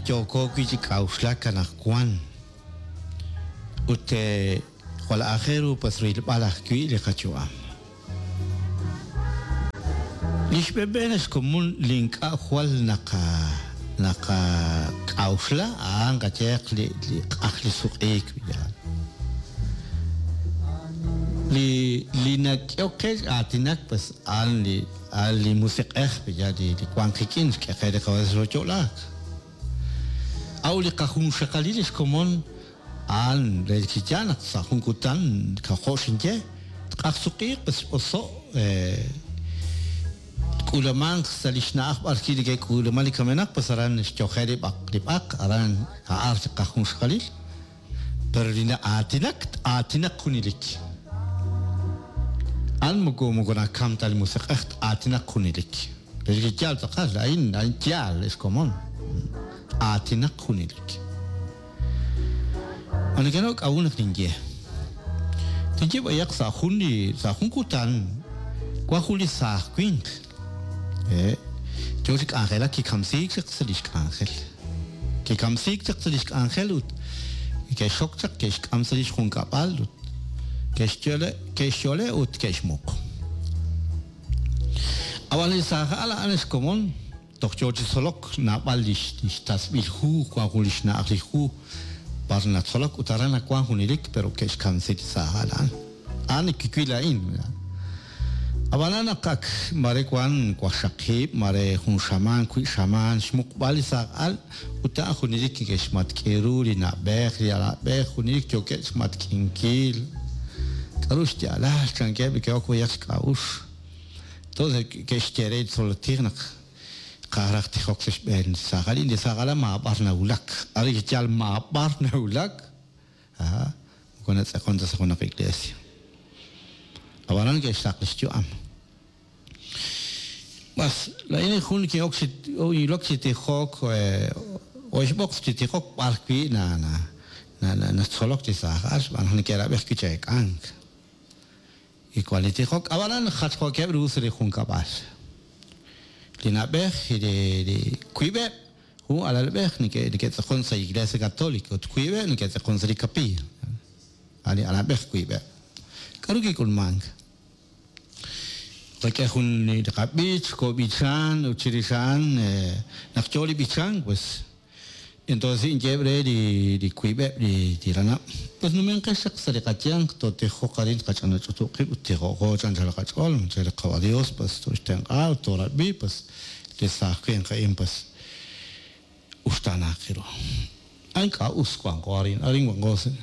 li yooko wi' chi k'a'uxlak anaqwan. Ut jwal aajel ru pues rilb'al ajwi' li qayu'am. Li xb'een xkomon li ink'a' jwal naqa naqak'a'uxla a'an qayehaq li li q'aj li suq'iik yaal. Li li nak'ehok qe aatinak pues a'an li a'an li musiq'ej yaal li li wan qik'in xk'e qe li Qawa' xooyo'laak. A'ut li qajunxaqalil li xkomon A'an relik chi yaal naq sa' jun kutan jo' xinye, tq'ajsuq'iiq ut x'oso' tk'uulamanq sa' li xna'aj b'arwi' neke'k'uulaman li kamenaq, pues aran xyoje' li b'aq li b'aq, aran a'an li qajunxaqalil. Pero li na'aatinak, t-aatinaq junelik. A'an moko moko nakam ta li musiq'ej, t-aatinaq junelik. Relik chi yaal tz'aqal, a'in a'in yaal, ex komon, t-aatinaq junelik. Ma nekenaw k'a'ut naq ninye? Tinye b'ayaq sa' jun li sa' jun kutan wan jun li saaj winq yoo chi k'anjelak kikamsiik chaq sa' lix k'anjel. Kikamsiik chaq sa' lix k'anjel ut ke'xxok chaq ke'xk'am sa' lix junkab'al ut ke'xyole ke'xyole ut ke'xmuq. Ab'an li saaj al a'an xkomon Toj yoo chi tzolok naab'al lix tasb'il hu, wan jun lix na'aj li hu b'ar natzolok ut aran nawan junelik pero ke'xkamsi li saaj al a'an. A'an li kiwil laa'in. Ab'anan naq ak mare wan waqxaqib', mare jun xamaan, wiib' xamaan xmuqb'al li saaj al ut a'an junelik neke'xmatk'i ru li na'b'ej, li alab'ej, junelik yookeb' xmatk'inkil. K'a'ru xyaalal? Chankeb' li ke'ok b'ayaq xk'a'uxl. Entonces ke'xye re li tzolotij naq tqaj raj tijok sa' xb'een li saaj al. Li saaj al maab'ar nawulak. Arin chi yaal maab'ar nawulak, aha, moko natz'aqon ta sa' junaq iglesia. Ab'anan ke'xsaq li xyu'am. B'as, laa'in jun kin'ok chi ilok chi tijok, oxb'oq chi tijok b'ar wi' na na natzolok li saaj al xb'aan naq neke'rab'i ajwi' chi eek'ank. Li wan li tijok, ab'anan jachjookeb' ru sa' li junkab'al. Li na'b'ej, li wiib'eb', jun alalb'ej neke'tz'aqon sa' Iglesia Católica ut wiib'eb' neke'tz'aqon sa' li kapiiy. A' li alalb'ej wiib'eb'. K'aru kik'ulmank? Qak'e jun li qab'ich, koob'ichan ut chirix a'an naq yoo li b'ichank, pues, Entonces inyeheb' re li wiib'eb' li ranab', Pues numenqex chaq sa' li qayanq, tootijoq arin tqach'anach'utub' qib' ut tijo'qo chi anchal qach'ool, che li Qawa' Dios pues tooxtenq'a ut toorab'i, pues li saaj winq a'in pues uxtaanaaq ru. A ink'a' us wanqo arin, arin wanqo sa'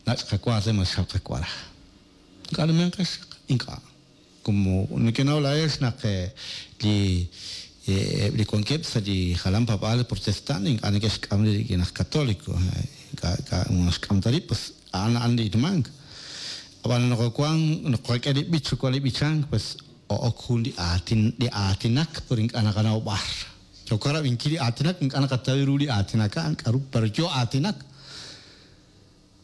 nach' qawa re ma xal qawara. Ink'a' numenqex chaq, ink'a'. Como nekenaw laa'ex naq li eb' li wankeb' sa' li jalan paab'aal protestant ink'a' neke'xk'am rib' rik'in aj katoliko, ink'a' ink'a' naxk'am ta rib', pues a'an a'an li ilmank. Ab'an naq wan naq qak'e li b'ich wan li b'ichank pues o'ok jun li aatin li aatinak pero ink'a' naqanaw b'ar. Yooko rab'inkil li aatinak ink'a' naqataw ru li aatinak a'an k'a'ru pero yoo aatinak.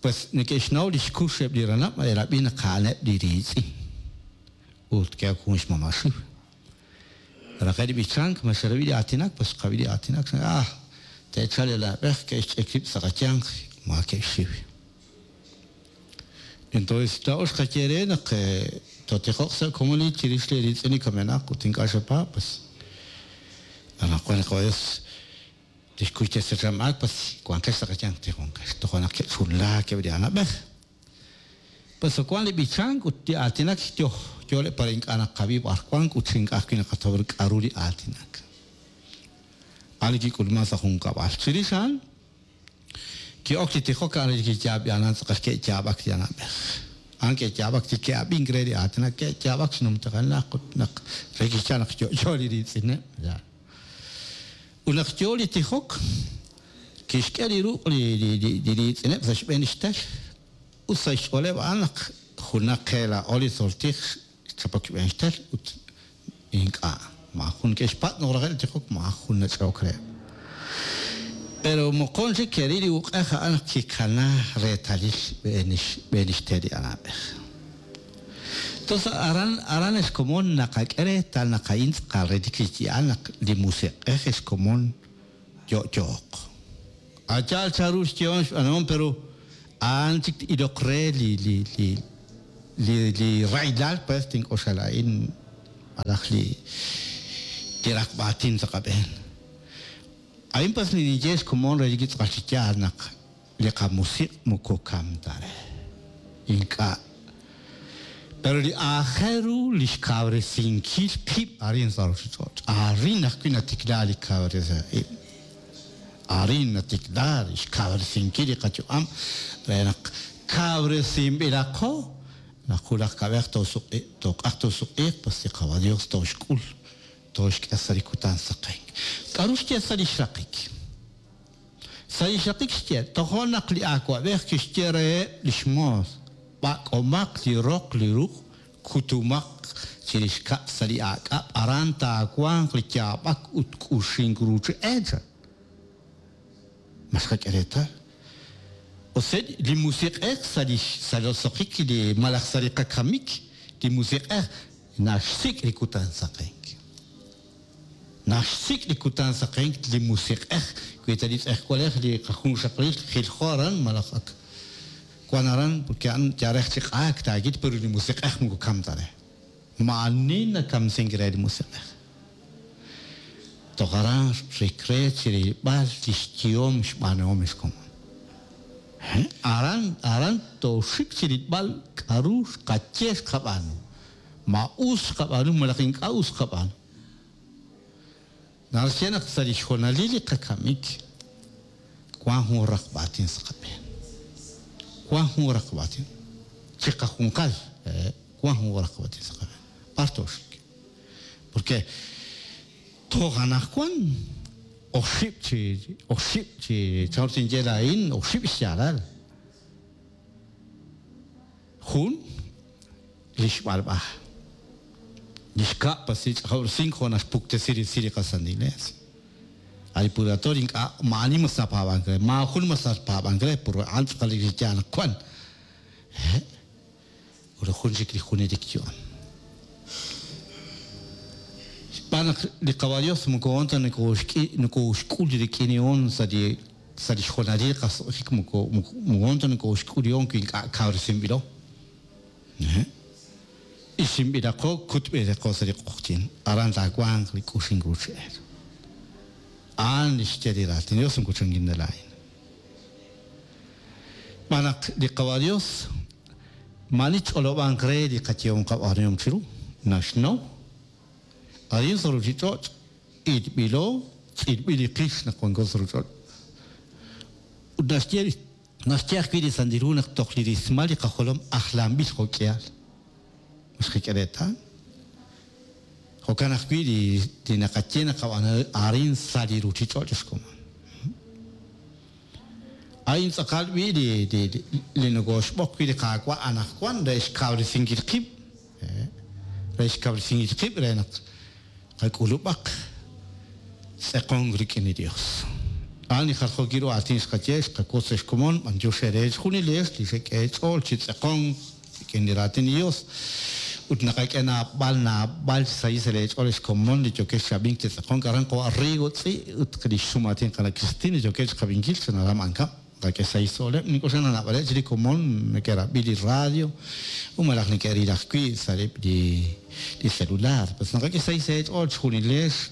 Pues neke'xnaw li xkux eb' li ranab' eerab'i naq a'aneb' li riitz'in. Ut ke'ok jun xmama' xiw. Raqe' li b'ichank, ma xerab'i li aatinak? Pues xqab'i li aatinak. Ah, te'chalq li na'b'ej, ke'xch'ik rib' sa' qayanq, maakeb' xxiw. Entonces, laa'o xqaye re naq tootijoq sa' komonil chirix li riitz'in li kamenaq ut ink'a' xepaab', pues anaqwan li Qawa' Dios Tixkuy te'sachamaak pas wanqex sa' qayanq tijonqex. Toja' naq ke'chunlaak eb' li anab'ej. Pas wank li b'ichank ut li aatinak yoj yooleb' para ink'a' naqab'i b'ar wank ut chi ink'a' ajwi' naqataw ru k'a'ru li aatinak. A'an li kik'ulman sa' junkab'al. Chirix a'an, ki'ok chi tijok a'an li kiyaab'anan tz'aqal ke'yaab'ak li anab'ej. A'an ke'yaab'ak chi ke'ab'ink re li aatinak, ke'yaab'ak xnumtajenaq ut naq re kixye naq yo'yo li riitz'ineb'. Ut naq yoo li tijok, kixk'e li ruq' li riitz'ineb' sa' xb'een lix tel, ut sa' xch'ooleb' a'an naq junaq qe laa'o li tzoltij xchapok xb'een xtel, ut ink'a', maajun ke'xpatz' naq raqe' li tijok, maajun nach'e'ok reheb'. Pero moqon chik ke'ril li uq'ej a'an naq kikana reetalil xb'een lix tel li anab'ej. Tos aran aran ex komon naqak'e reetal naq a'in tz'aqal re li yaal naq li Musiq'ej ex komon Yo'yooq. A' yaal chanru xyehom xb'aanuhom pero a'an chik t-iloq re li li li li li rahilal pues tink'oxla laa'in malaj li li raqb'a aatin sa' qab'een. A'in pues li ninye xkomon re li tz'aqal chi yaal naq li qamusiq' moko kam ta re. Ink'a'. Pero li aajel ru li xkawresinkil qib' arin sa' ruuchich'och'. Arin ajwi' natikla li kawresink ib'. Arin natikla li xkawresinkil li qayu'am re naq kawresinb'ilaqo naq wulaj kab'ej toosuq'i tooq'ajq toosuq'iiq pues li Qawa' Dios tooxk'ul tooxk'e sa' li kutan saqenk. K'aru xye sa' li xraqik? Sa' li xraqik xye, Tojo' naq li awab'ej kixye reheb' li xmoos, B'ak'omaq li roq li ruq', kutumaq chirix kab'l sa' li aak'ab', aran taawanq li yaab'ak ut k'uxink ruuch e, chan. Ma xqak'e reetal? Ose li Musiq'ej sa' li sa' roso'jik li malaj sa' li qakamik, li Musiq'ej naxsik' li kutan saqenk. Naxsik' li kutan saqenk li Musiq'ej, wi ta li tz'ejwalej li qajunxaqalil jiljo aran malaj ak wan aran, porque a'an yal chi q'aak taakit, pero li Musiq'ej moko kam ta re. Maa'ani nakamsink re li Musiq'ej. Toj aran xik re chi rilb'al li xyehom xb'aanuhom li xkomon. Aran, aran tooxik chi rilb'al k'aru xqaye xqab'aanu. Ma us xqab'aanu malaj ink'a' us xqab'aanu. Naxye naq sa' li xhonalil li qakamik wank jun raqb'aatin sa' qab'een. Wank jun raqb'aatin. Chiqajunqal wank jun raqb'aatin sa' qab'een. B'ar tooxik? Porque toj anaqwan oxib' chi oxib' chi chanru tinye laa'in oxib' xyaalal. Jun, li xb'alb'a. Li xkab' pas li ch'ajob'resink jo' naxpuktesi resil li qaSantil Iglees. A' li purgatorio ink'a' maa'ani mas napaab'ank re, maajun mas napaab'ank re, pur a'an tz'aqal li yaal naq wan. Hehe'. Ut jun chik li junelik yu'am. Xb'aan naq li Qawa' Dios moko hoon ta nokooxk'ul rik'in sa' li sa' li xhonalil qaso'jik moko hoon ta nokooxk'ul wi ink'a' kawresinb'ilo. Isinb'ilaqo kutb'ilaqo sa' li q'oqyink, aran taawanq li k'uxink ruuchi'el. A'an li xye li Raatin Dios moko chankin ta laa'in. Xb'aan naq li Qawa' Dios maa'ani tch'olob'anq re li qayehom qab'aanuhom chiru, naxnaw. Arin sa' ruuchich'och' ilb'ilo, tz'ilb'il li qix naq wanko sa' ruuchich'och'. Ut naxye naxye ajwi' li Santil Hu naq toj li rismal li qajolom ajlanb'il jo' k'ihal. Ma xqak'e reetal? Jo'kan ajwi' li li naqaye naqab'aanu arin sa' li ruuchich'och' xkomon. A'in tz'aqal b'i' li li li nokooxb'oq wi' li Qaawa' anaqwan re xkawresinkil qib', re xkawresinkil qib' re naq qak'ulub'aq tz'eqonk rik'in li Yos. A'an li jaljookil ru aatin xqaye, xqawotz sa' xkomon, b'anyox eere chejunilex li xek'e eech'ool chi tz'eqonk rik'in li raatin li Yos. Ut naqak'e naab'al naab'al xsahil sa' leech'ool ex komon li yookex chi ab'ink chi tz'eqonk aran qawa' Rigo Tz'i' ut li xsum'aatin qana' Christine li yookeb' chiqab'inkil sa' Naram Ankab'. Naqak'e xsahil xch'ooleb'. Nink'oxla naq naab'aleb' chik li komon neke'rab'i li radio ut malaj neke'ril ajwi' sa' li celular. Pues naqak'e xsahil sa' eech'ool chejunilex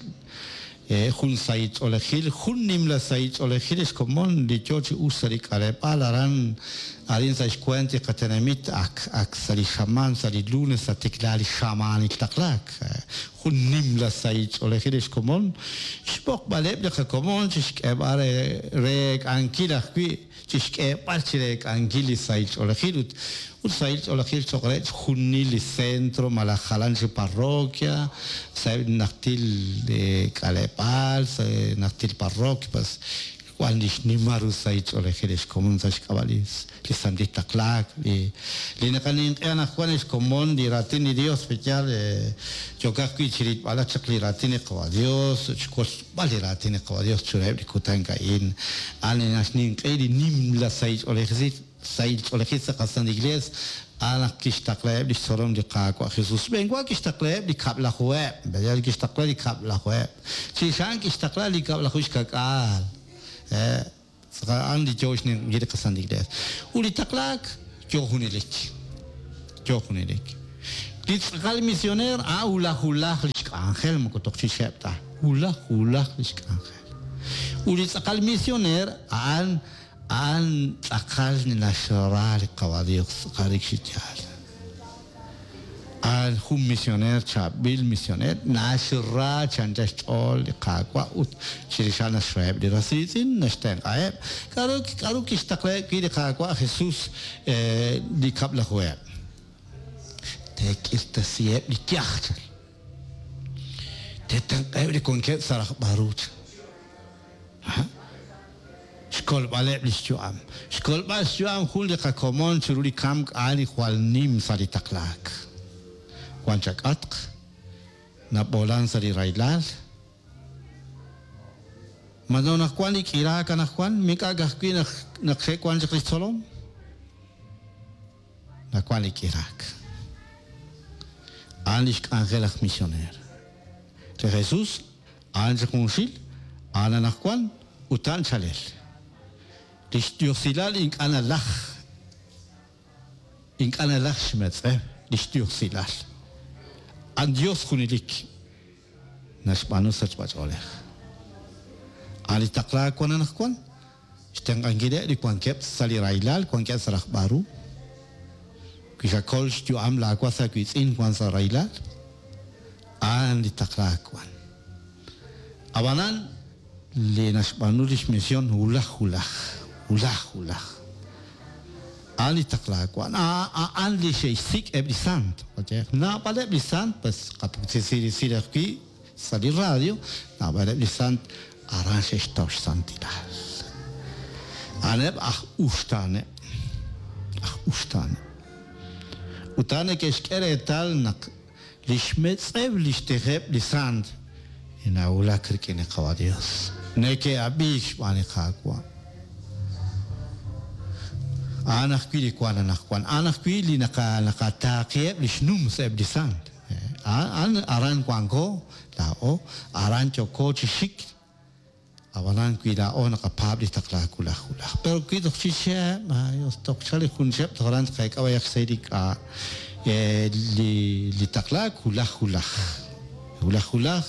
jun sahil ch'oolejil, jun nimla sahil ch'oolejil ex komon li yoo chi uxk sa' li k'aleb'aal aran arin sa' xweent li qatenamit ak ak sa' li xamaan sa' li lunes natikla li xamaanil taqlaak. Jun nimla sahil ch'oolejil ex komon, xb'oqb'aleb' li qakomon chixk'eeb'al re reek'ankil ajwi' chixk'eeb'al chi reek'ankil li sahil ch'oolejil ut ut sahil ch'oolejil choq' re chjunil li centro malaj jalan chi parroquia sa'eb' li najtil k'aleb'aal, sa' najtil parroquia pues wan li xnimal ru sahil ch'oolejil ex komon sa' xk'ab'a' li li santil taqlaak li li naqaninq'e anaqwan ex komon li raatin li Dios pe yaal yookaq wi' chirilb'alaq chaq li raatin li Qawa' Dios ut xwotzb'al li raatin li Qawa' Dios chiruheb' li kutan a'in. A'an li naxninq'e li nimla sahil ch'oolejil. sahil ch'oolejil sa' qasantil Iglees, a'an naq kixtaqlaheb' lix tzolom li Qaawa' Jesus. Xb'een wa kixtaqlaheb' li kab'lajuheb', kixtaqla li kab'lajuheb'. Chirix a'an kixtaqla li kab'laju xka'k'aal. A'an li yoo xninq'ehinkil li qasantil Iglees. Ut li taqlaak yoo junelik. Yoo junelik. Li tz'aqal misioneer a'an wulaj wulaj lix k'anjel, moko toj chixeb' ta. Wulaj wulaj lix k'anjel. Ut li tz'aqal misioneer a'an a'an tz'aqal naxra li Qawa' Dios, tz'aqal rik chi yaal. A'an jun misioneer, chaab'il misioneer, naxra chi anchal xch'ool li Qaawa' ut chirix a'an naxraheb' li ras riitz'in, naxtenq'aheb'. K'a'ru k'a'ru kixtaqlaheb' wi' li Qaawa' Jesus li kab'lajuheb'? Teek'irtasiheb' li yaj, chan. Teetenq'aheb' li wankeb' sa' rajb'al ru, chan. Xkolb'aleb' lix yu'am. Xkolb'al xyu'am jun li qakomon chiru li kamk a'an li jwal nim sa' li taqlaak. Wan chak'atq, nab'oolan sa' li rahilal. Ma naq wan li k'iraak anaqwan, mik'a' ka'ajwi' naq naq xe'wan chaq lix tzolom? Nawan li k'iraak. A'an lix k'anjel aj misioneer. Li Jesus a'an chi junxil, a'an anaqwan, ut a'an chalel. Lix diosilal ink'a' nalaj, ink'a' nalaj xmetz'ew lix diosilal. A'an Dios junelik naxb'aanu sachb'a-ch'oolej. A'an li taqlaak wan anaqwan, xtenq'ankileb' li wankeb' sa' li rahilal, wankeb' sa' rajb'al ru. Wi xakol xyu'am laa was aawiitz'in wan sa' rahilal, a'an li taqlaak wan. Ab'anan, li naxb'aanu lix mision wulaj wulaj, wulaj wulaj, a'an li taqlaak wan. A'an li xe'xsik' eb' li sant. Naab'aleb' li sant, pues qapuktesi resil ajwi' sa' li radio, naab'aleb' li sant aran xe'xtaw xsantilal. A'aneb' aj uxtaaneb', aj uxtaaneb'. Ut a'an neke'xk'e reetal naq lix metz'ew lix tijeb' li sant nawulak rik'in li Qawa' Dios. Neke'ab'iik xb'aan li Qaawa'. A'an ajwi' li wan anaqwan. A'an ajwi' li naqataaqiheb' lix nums eb' li sant. A'an aran wanko laa'o, aran yooko chi xik, ab'anan wi laa'o naqapaab' li taqlaak wulaj wulaj. Pero wi toj chi chihab', Dios, toj chal li jun chihab' toj aran tqeek'a b'ayaq xsahil li k'a' li taqlaak wulaj wulaj. Wulaj wulaj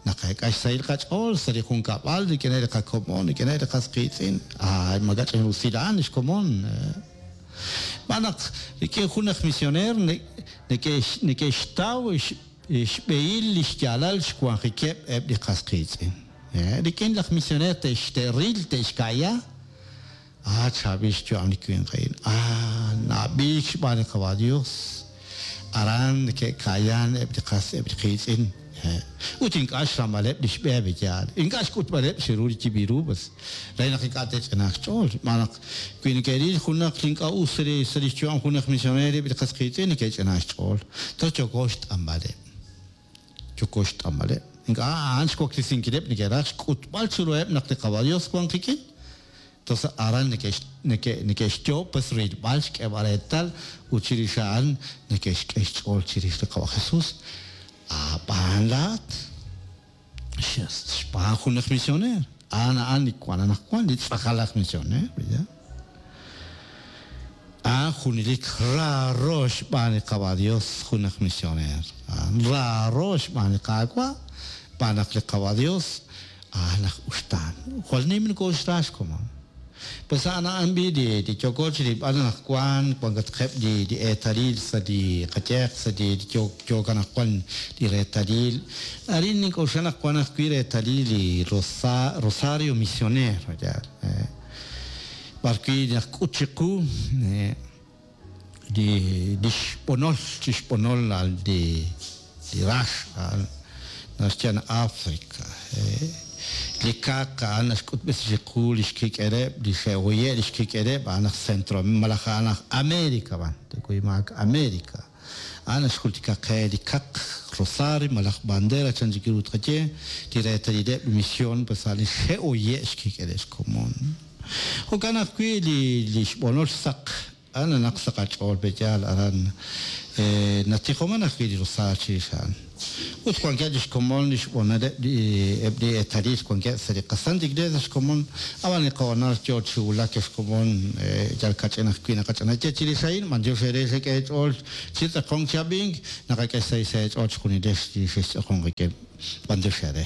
naqeek'a xsahil qach'ool sa' li junkab'al rik'ineb' li qakomon, rik'ineb' li qas qiitz'in. Ay, makach'in rusil a'an li xkomon. Xb'aan naq rik'in jun aj misioneer neke'xtaw xb'ehil li xyaalal xwanjikeb' eb' li qas qiitz'in. Rik'in laj misioneer te'ril, te'xka'ya, Ah, chaab'il xyu'am li winq a'in. Ah, na'ab'iik xb'aan li Qawa' Dios. Aran neke'ka'yan eb' li qas eb' li qiitz'in. Ut ink'a' xramb'aleb' li xb'e yaal. Ink'a' xk'utb'aleb' chiru li yib'il ru, pues, re naq ink'a' te'ch'inaaq xch'ool. Xb'aan naq wi neke'ril junaq li ink'a' us sa' li xyu'am junaq misioneer eb' li qas qiitz'in neke'ch'inaaq xch'ool. Toj yooko xt'anb'aleb'. Yooko xt'anb'aleb'. Ink'a' a'an xwaklesinkileb' neke'raj xk'utb'al chiruheb' naq li Qawa' Dios wan qik'in. Entonces aran neke'xyoob' pues rilb'al xk'eeb'al reetal ut chirix a'an neke'xk'e xch'ool chirix li Qawa' Jesus. Ab'an laa'at xb'aan jun aj misioneer. A'an a'an li wan anaqwan, li tz'aqal aj misioneer, ¿verdad? A'an junelik raaro xb'aan li Qawa' Dios jun aj misioneer. A'an raaro xb'aan li Qaawa', xb'aan naq li Qawa' Dios a'an aj uxtaan. Jwal nim nokooxra xkomon. Pues a'an a'an b'i li yooko chi rilb'al anaqwan, wankatqeb' li eetalil sa' li qayeq, sa' li yook anaqwan li reetalil. Arin nink'oxla naq wan ajwi' reetalil li Rosario Misionero, yaal. B'arwi' naqk'ut chiqu li xb'onol, chi xb'onol li rax a'an naxye África. Li kaq a'an naxk'utb'esi chiqu li xkik'eleb', li xe'hoye' li xkik'eleb' a'an aj Centro malaj a'an aj América b'an, tekuymaak América. A'an naxjultika qe li kaq, rosario malaj bandera chan chik ru tqaye, li reetalileb' li mision pues a' li xe'hoye' xkik'eleb' xkomon. Jo'kan ajwi' li li xb'onol saq a'an nanaq sa' qach'ool pe'yaal aran natijoman ajwi' li rosaar chirix a'an. Ut wankeb' li xkomon li xb'onoleb' li eb' li eetalil wankeb' sa' li qaSanta Iglesia xkomon, ab'an li qahoonal yoo chi wulak ex komon yal kach'in ajwi' naqach'anaye chirix a'in, b'antiox eere xek'e eech'ool chi tz'aqonk chi ab'ink, naqak'e xsahil sa' eech'ool chejunilex li xextz'aqonk qik'in, b'antiox eere.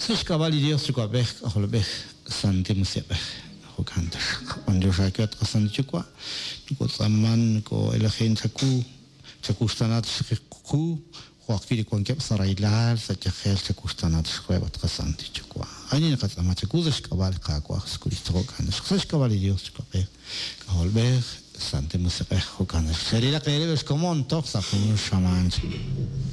Sa' xk'ab'a' li Dios Yuwa'b'ej, K'ajolb'ej, Santil Musiq'ej. Jo'kan taxaq. B'antiox aawe at qaSantil Yuwa', nokotz'aaman, noko'elajin chawu, chawuxtaana taxaq qu, jo' ajwi' li wankeb' sa' rahilal, sa' yajel, chawuxtaana taxaq reheb' at qaSantil Yuwa'. A'in li naqatz'aama chawu sa' xk'ab'a' li Qaawa' Jesukristo. Jo'kan taxaq. Sa' xk'ab'a' li Dios Yuwa'b'ej, K'ajolb'ej, Santil Musiq'ej. Jo'kan taxaq. Cherilaq eerib' ex komon toj sa' jun xamaan chik.